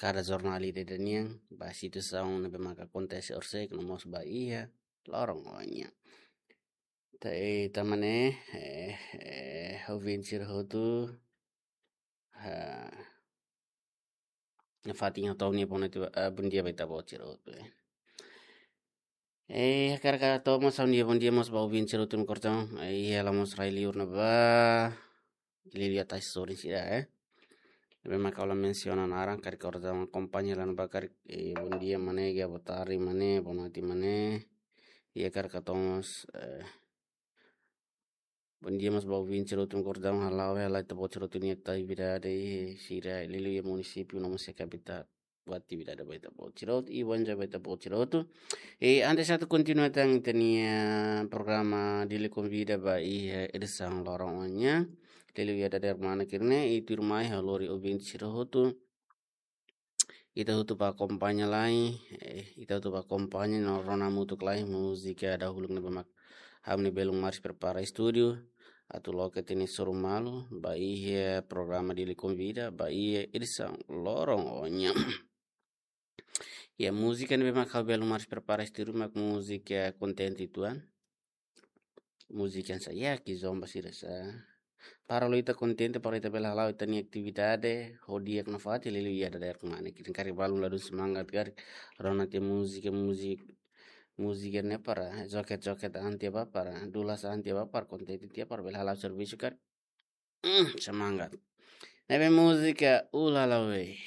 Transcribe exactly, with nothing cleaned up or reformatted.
kada jornál ida-idak nian, ba situasaun ne'ebé maka akontese orsida no mós ba iha loron oin nian. Entaun, eh, tan ne'e, eh, eh, ouvinte sira hotu, ah, nafatin ha'u hato'o ha'u-nia boa noite, ah, bondia ba ita-boot sira hotu, eh. Eh, hakarak hato'o mós ha'u-nia bondia mós ba ouvinte sira hotu no kordon, eh, iha la'ós rai-liur ne'ebá, liuliu ita-nia sorin sira, eh. Ne'ebé maka ha'u la mensiona naran, karik kordon akompaña la no ba karik, eh, bondia maun ne'e, boa tarde maun ne'e, boa noite maun ne'e. Iha karik hato'o mós, eh, bondia mós ba ouvinte sira hotu no kordon hala'o, hala'o ita-boot sira hotu-nia atividade sira liuliu iha munisípiu no mós iha kapital. Boa atividade ba ita-boot sira hotu, i bom dia ba ita-boot sira hotu. I antes atu kontinua tan ita-nia programa Dili Konvida ba iha edisaun loron oin nian, liuliu iha dadeer kmanek ne'e, i tuirmai ha'u lori ouvinte sira hotu. Ita hotu bá akompaña lai, eh, ita hotu bá akompaña no rona hamutuk lai múzika dahuluk ne'ebé mak ha'u-nia belun Maris prepara estúdiu atu loke tiha nia soru malu ba iha programa Dili Konvida ba iha edisaun loron oin nian. Ya, múzika ne'ebé mak ha'u belun Maris prepara estúdiu mak múzika kontente uitoan. Múzika hanesan Yaki Zomba sira sá. Para ita kontente, para ita bele hala'o ita-nia atividade ho di'ak nafatin, liuliu iha dadeer kmanek ne'e. Karik balun ladún semangat karik, rona tiha múzika, múzika, múzika ne'e para joget-joget an tiha bá para, dulas an tiha bá para, kontente tiha para bele hala'o servisu karik. Hmm, semangat. Ne'ebé múzika Ulala Wei.